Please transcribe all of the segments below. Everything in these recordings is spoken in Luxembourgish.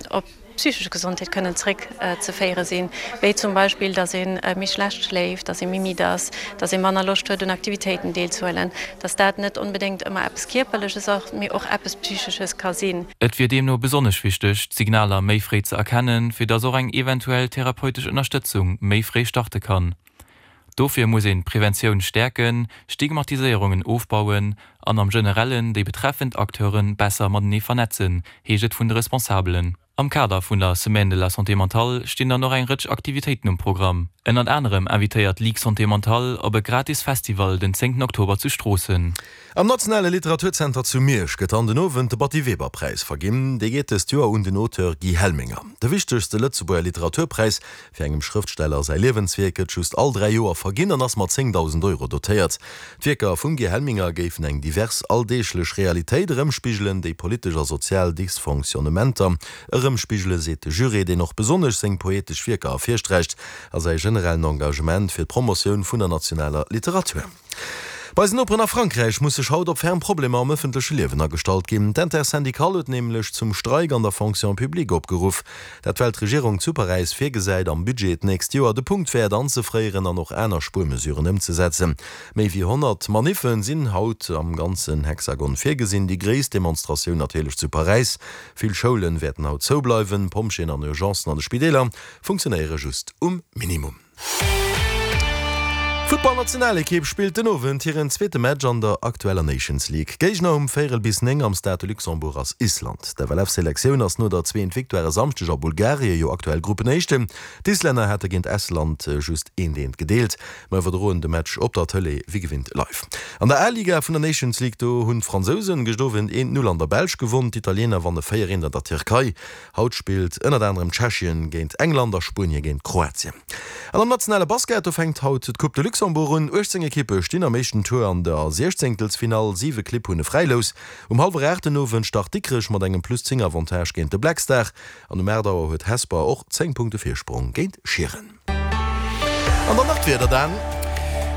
op d'psychesch Gesondheet kënnen zréck ze féiere sinn, wéi zum Beispill, datt ee méi schlecht schléift, datt ee méi midd ass, datt ee manner Loscht huet un Aktivitéiten deelzehuelen, datt dat net onbedéngt ëmmer eppes Kierperleches ass, mee och eppes Psychesches ka sinn. Et wier deemno besonnesch wichteg, d'Signaler méi fréi ze erkennen, fir datt och eng eventuell therapeutesch Ënnerstëtzung méi fréi starte kann. Dofir muss een d'Preventioun stäerken, Stigmatiséierungen ofbauen an am Generellen déi betreffend Acteure besser matenee vernetzen, heescht et vun de Responsabelen. Am Kader vun der Semaine de la Santé mentale stinn dann och eng Rëtsch Aktivitéiten um Programm. Ënnert anerem invitéiert d'Ligue Santé Mentale op e gratis Festival den 10 Oktober zu Stroossen. Am Nationale Literaturzenter zu Miersch gëtt an den Owend de Batty-Weber-Präis verginn. Dee geet dëst Joer un den Auteur Guy Helminger. De wichtegste Lëtzebuerger Literaturpräis fir engem Schrëftsteller säi Liewenswierk gëtt just all 3 Joer verginn an ass mat 10.000 Euro dotéiert. D'Wierker vum Guy Helminger géifen eng divers alldeeglech Realitéit erëmspigelen, déi politesch a sozial Dysfonctionnementer erëmspigelen, seet de Juré, deen och besonnesch seng poetesch Wierker ervirsträicht a säi generellen Engagement fir d'Promotioun vun der nationaler Literatur. Bei eisen Noperen a Frankräich muss sech haut op ferm Problemer am ëffentleche Liewen agestallt ginn. D'Intersyndicale huet nämlech zum Streik an der Fonction publique opgeruff. Dat well d'Regierung zu Paräis virgesäit, am Budget d'nächst Joer de Punktwäert anzefréieren an och aner Spuermesuren ëmzesetzen. Méi wéi 100 Maniffe sinn haut am ganzen Hexagon virgesinn, déi gréisst Demonstratioun natierlech zu Paräis. Vill Schoulen wäerten haut zoubleiwen, Pompjeeën an Urgencen an de Spideeler funktionéiere just um Minimum. D'Futtballnationalekipp spillt den Owend hiren zweete Match an der aktueller Nations League. Géigner um véierel bis 9 am Stade de Luxembourg ass Island. D'FLF-Selektioun ass no der zweent Victoire e Samschdeg a Bulgarie jo aktuell Gruppenéischten. D'Islänner hate géint Estland just eent eent gedeelt. Mer iwwerdroen de Match op der Tëlee wéi gewinnt live. An der A-Liga vun der Nations League do hunn d'Fransousen gëscht Owend eent Null an der Belsch gewonn. D'Italiener wanne 4 eent an der Tierkei. Haut spillt ënnert anerem Tschechien géint England a Spuenie géint Kroatien. An am nationale Basket, do fänkt haut d'Coupe de Luxembourg un. 18 Ekippe stinn am éischten Tour an der Siechzéngtelsfinall, 7 Clibb hunn e Fräilous. Um hallwer 8 den Owend start Dikrech mat engem plus 10 Avantage géint de Black Star an um 8 Auer huet Hesper och 10 Punkte Virsprong géint Schieren. An dann nach d'Wieder, Dan.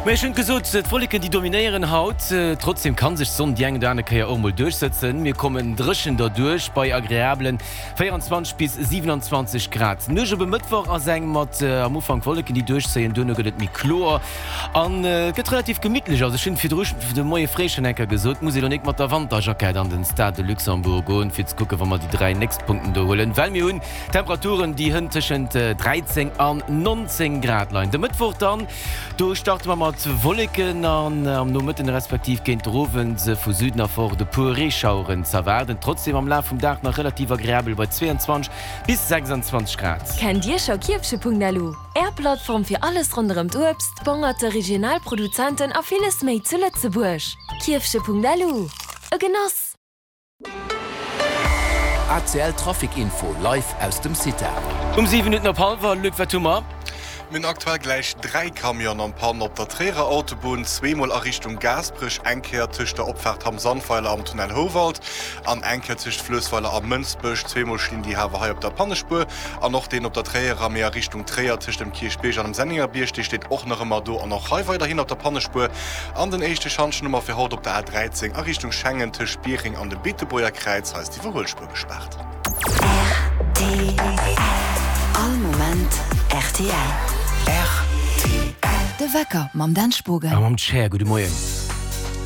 Mä ech hunn et gesot, d'Wolleken déi dominéieren haut. Trotzdeem kann sech d'Sonn déi eng oder aner Kéier och mol duerchsëtzen. Mir kommen dréchen derduerch bei agreablen 24 bis 27 Grad. D'Nuecht op e Mëttwoch ass eng mat am Ufank Wolleken déi duerchzéien, duerno gëtt et méi kloer an et gëtt relativ gemittlech. Also ech hunn virdru de Moie fréi schonn eng Kéier gesot, muss ee lo nik mat der Wanterjackett an den Stade de Luxembourg goen fir ze kucken, wa mer déi 3 nächst Punkten do huelen, well mir hunn Temperaturen, déi hënt tëschent 13 an 19 Grad leien. De Mëttwoch dann, do starte mer mat Wolleken an am Nomëtten respektiv géint der Owend vu Süden erfort e puer Reeschaueren z'erwaarden. Trotzdeem am Laf vum Dag nach relativ agreabel bei 22 bis 26 Grad. Kennt Dir scho Kierfche.lu, Är Plattform fir alles ronderëm d'Uebst, d'Bongerte, regional Produzenten a villes méi zu Lëtzebuerg? Kierfche.lu, e Genoss! ACL Trafic Info live aus dem CITA. Um 7 Minutten op hallwer, Luc, wat hu mer? Mir hunn aktuell gläich 3 Camionen an Panne op der Tréierer Autobunn, zweemol a Richtung Gaasperech, eng Kéier tëscht der Opfaart Hamm-Sandweiler am Tunnel Houwald an eng Kéier tëscht Fluessweiler a Mënsbech. Zweemol stinn déi Hawer hei op der Pannespuer an och deen op der Tréierer, mee a Richtung Tréier tëscht dem Kierchbierg an dem Sennengerbierg, dee steet och nach ëmmer do an och hei weiderhin op der Pannespuer. An den éischte Schantjen hu mer fir haut op der A 13 a Richtung Schengen tëscht Biereng an dem Beetebuerger Kräiz. Hei ass d'Iwwerhuelspuer gespaart. Rtl. All Moment rtl. Rtl. De Wecker mam Dan Spogen. A mam Cher. Gudde Moien.